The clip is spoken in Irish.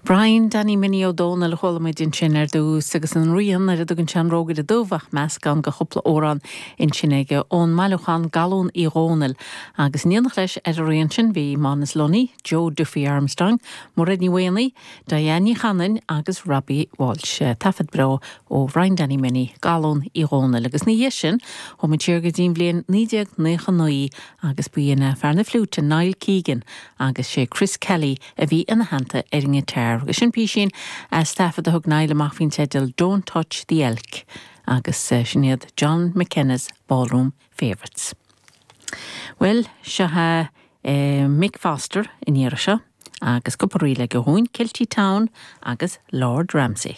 Brian Danny Minnie Ó Dónaill a chuala muid ansin ar dtús agus an rian ar a dtugann sé an Rógaire Dubh ach meascán de chúpla amhrán ansin aige ón mbailiúchán Galún Uí Dhónaill agus in éineacht leis ar an rian sin bhí Manus Lunny, Joe Duffy Armstrong, Mairéad Ní Mhaonaigh, Diane Ní Chanainn agus Robbie Walsh. Taifead breá ó Bhrian Danny Minnie, Galún Uí Dhónaill agus ina dhiaidh sin chuaigh muid siar go dtí an bhliain 1999 agus ba in é fear na fliúite Niall Keegan agus sé Chris Kelly a bhí ina theannta ar an ngiotár agus sin písín as taifead a thug Niall amach faoin teideal Don't Touch the Elk agus sin iad John McKenna's Ballroom Favourites. Bhuel, seo é Mick Foster an iarraidh seo agus cúpla ríl aige dhúinn, Kilty Town agus Lord Ramsey.